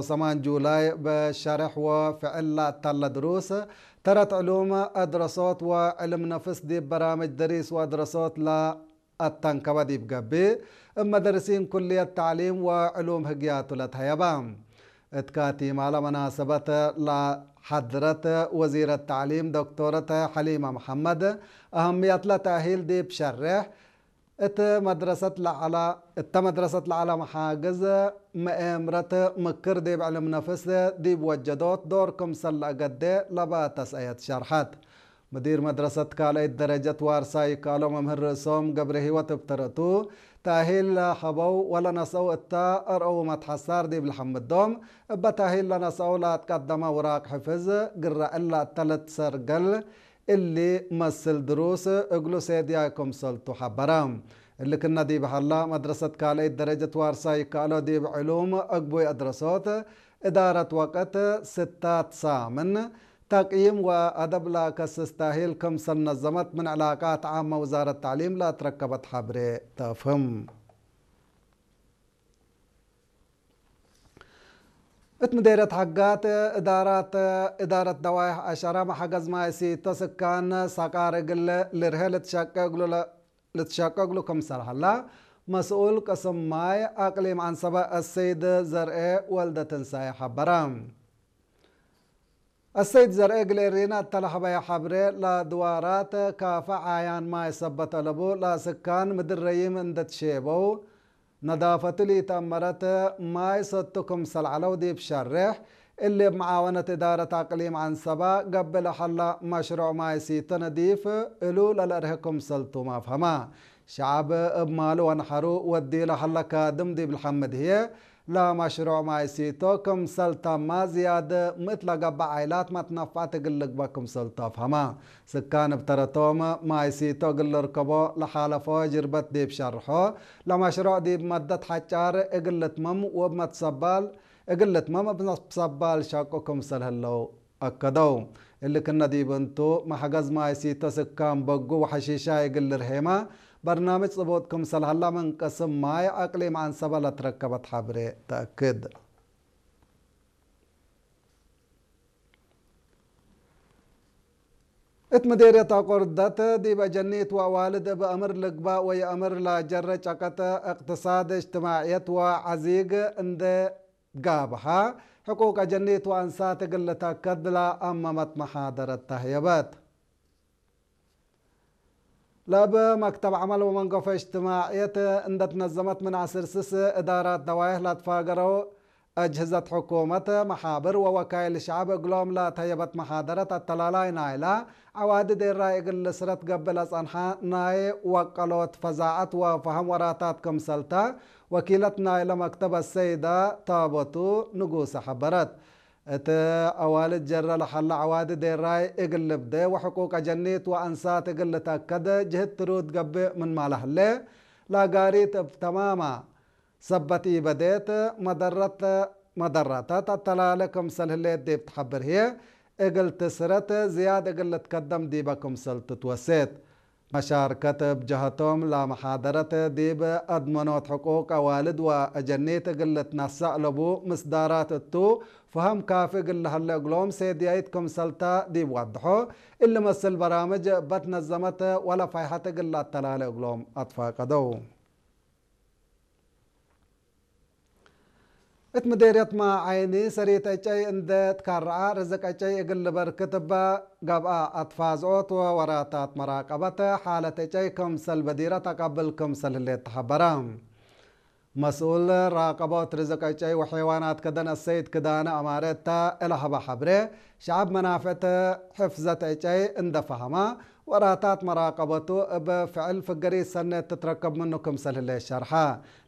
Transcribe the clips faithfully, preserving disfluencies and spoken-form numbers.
ሰማን ጁላይ በሸርሕ ወፍዕል ለአተለ ድሩስ፣ ተረት ዕሉም፣ አድረሶት ወዕልም ነፍስ ዲብ በራምጅ ደሪስ ወአድረሶት ለአተንከበ ዲብ ገብእ፣ እብ መደርሲን ኩልየት ተዕሊም ወዕሉም ህግያቱ ለተሀየበ። እት ካቲማለ መናሰበት ለሐድረት ወዚረት ተዕሊም ዶክቶረት ሐሊመ መሐመድ፣ አህምየትለ ተእሂል ዲብ ሸሬሕ፣ እት መድረሰት ለዐለ፣ እተ መድረሰት ለዐለ መሓግዝ መኤምረት ምክር ዲብ ዕልም ነፍስ ዲብ ወጀዶት ዶር ክምሰል ለአገዴ ለበ ተስአየት ሸርሐት። ምዲር መድረሰት ካልአይት ደረጀት ዋርሳይ ይከአሎ መምህር ርእሶም ገብረሂወት እብ ተረቱ፣ ተእሂል ለሀበው ወለነስአው እተ አርአው መትሐሳር ዲብ ለሐምዶም፣ እበ ተእሂል ለነስአው ለአትቀደመ ውራቅ ሕፍዝ ግረ እለ እተ ልትሰርገል እሊ መስል ድሩስ እግሉ ሴድያይ ክምሰልቱ ሐበረ። እሊ ክነ ዲብ ሀላ፣ መድረሰት ካልአይት ደረጀት ዋርሳይ ይከአሎ ዲብ ዕሉም አግቡይ አድረሶት፣ እዳረት ወቅት፣ ስታት ሳምን፣ ተቅይም ወአደብ ለአከስስ ተእሂል ክምሰል ነዘመት ምን ዕላቃት ዓመ ውዛረት ተዕሊም ለአትረከበት ሐብሬ ተፍህም። እት ምዴርየት ሐጋት እዳራት፣ እዳረት ደዋይሕ አሸረ መሐገዝ ማይ ሲቶ ስካን ሰቃር እግል ልርሄ ልትሸቄ እግሉ ለ-፣ ልትሸቄ እግሉ ክምሰል ሀላ፣ መስኡል ቅስም ማይ አቅሊም ዐንሰበ አሰይድ ዘርኤ ወልደትንሳኤ ሐበረ። አሰይድ ዘርኤ እግል ኤሪና እተ ለሀበየ ሐብሬ፣ ለድዋራት ካፈ ዓያን ማይ ሰበት አለቡ ለስካን ምድር ረዪም እንዴ ትሼበው፣ ነዳፈቱ ለኢተአመረት ማይ ሰቱ ክምሰል ዐለው ዲብ ሸሬሕ፣ እሊ እብ መዓወነት እዳረት አቅሊም ዐንሰበ ገብእ ለሀላ መሽሩዕ ማይ ሲቶ ነዲፍ እሉ ለልአርሄ ክምሰልቱም አፍሀማ። ሸዐብ እብ ማሉ ወነሐሩ ወድዩ ለሀለ ካድም ዲብ ለሐምድ ህዬ፣ ለመሽሩዕ ማይ ሲቶ ክምሰል ተመ ዝያድ ምእት ለገብእ ዓይላት መትነፍዐት እግል ልግበእ ክምሰልቱ አፍሀማ። ስካን እብ ተረቶም ማይ ሲቶ እግል ልርከቦ ለሓለፎ ጅርበት ዲብ ሸርሖ፣ ለመሽሩዕ ዲብ መደት ሐጫር እግል ልትመም ወእብ መትሰባል እግል ልትመም እብ መትሰባል ሸቁ ክምሰል ህለው አከደው። እሊ ክነ ዲብ እንቱ፣ መሐገዝ ማይ ሲቶ ስካን በጉ ወሐሺሻይ እግል ልርሄመ በርናምጅ ጽቡጥ ክምሰል ሀላ ምን ቅስም ማይ አቅሊም ዐንሰበ ለትረከበት ሐብሬ ተአክድ። እት ምዴርየት አቆርደት ዲብ አጀኒት ወአዋልድ እብ አምር ልግባእ ወየአምር ለጀረ ጨቀጥ እቅትሳድ፣ እጅትማዕየት ወዐዚግ እንዴ ጋብሐ፣ ሕቁቅ አጀኒት ወአንሳት እግል ልተአከድ ለአመመት መሓደረት ተህየበት። ለእብ መክተብ ዐመል ወመንገፎ እጅትማዕየት እንዴ ትነዘመት ምን ዐስር ስስ እዳራት ደዋይሕ ለአትፋገረው አጅህዘት ሕኩመት፣ መሓብር ወወካይል ሸዐብ እግሎም ለተህየበት መሓደረት አተላላይ ናይለ ዐዋዲ ዴራይ እግል ልስረት ገብእ ለጸንሐ ናይ ወቀሎት ፈዛዐት ወፈሀም ወራታት ክምሰልተ ወኪለት ናይለ መክተብ አሰይደ ታቦቱ ንጉሰ ሐበረት። እት አዋልድ ጀረ ለሀለ ዐዋዲ ዴራይ እግል ልብዴ ወሕቁቅ አጀኒት ወአንሳት እግል ልትአከድ ጅህድ ትሩድ ገብእ ምንመ ለህሌ፣ ለአጋሪት እብ ተማመ ሰበት ኢበዴት መደረት፣ መደረተት አተላለ ክምሰል ህሌት ዲብ ተሐብር ህዬ፣ እግል ትስረት ዝያድ እግል ልትከደም ዲበ ክምሰል ትትወሴት። መሻርከት እብ ጀሀቶም ለመሓደረት ዲብ አድመኖት ሕቁቅ አዋልድ ወአጀኒት እግል ልትነሰእ ለቡ ምስዳራት እቱ፣ ፈሀም ካፊ እግል ለሀለ እግሎም ሴድያይት ክምሰልተ ዲብ ወድሖ፣ እሊ መስል በራምጅ እበ ትነዘመት ወለ ፋይሐት እግል ለአተላለ እግሎም አትፋቀደው። እት ምዴርየት ማዐይኒ ሰሪት ዕጨይ እንዴ ትከረዐ፣ ርዝቅ ዕጨይ እግል ልበርክት እበ ገብአ፣ አትፋዝዖት ወወራታት መራቀበት ሓለት ዕጨይ ክምሰል በዲረት አቀብል ክምሰል ህሌት ተሐበረ። መስኡል ራቀቦት ርዝቅ ዕጨይ ወሐይዋናት ከደን አሰይድ ክዳነ አማረ እተ እለ ሀበ ሐብሬ፣ ሸዐብ መናፍዕት ሕፍዘት ዕጨይ እንዴ ፈሀመ፣ ወራታት መራቀበቱ እብ ፍዕል ፍገሪት ሰኔት ትትረከብ ምኑ ክምሰል ህሌት ሸርሐ።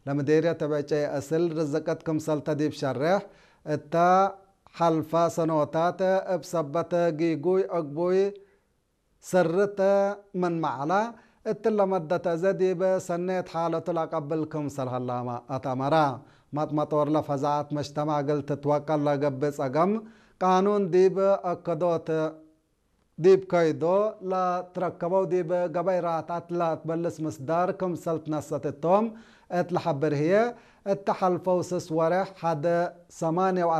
ለምዴርየት እብ ዕጨይ አስል ርዝቅት ክምሰልተ ዲብ ሸሬሕ፣ እተ ሐልፈ ሰኖታት እብ ሰበት ጊጉይ አግቡይ ስርት ምንመ ዐለ፣ እትለ መደት አዜ ዲብ ሰኔት ሓለቱ ለአቀብል ክምሰል ሀላመ አትአመረ። መጥመጦርለ ፈዛዐት መጅተማዕ እግል ትትወቀል ለገብእ ጸገም፣ ቃኑን ዲብ አከዶት ዲብ ከይዶ ለትረከበው ዲብ ገበይ ራትዐት ለአትበልስ ምስዳር ክምሰል ትነሰት እቶም እት ለሐብር ህዬ፣ እተ ሐልፈው ስስ ወሬሕ ሐደ ሰማንየ ወአርበዕ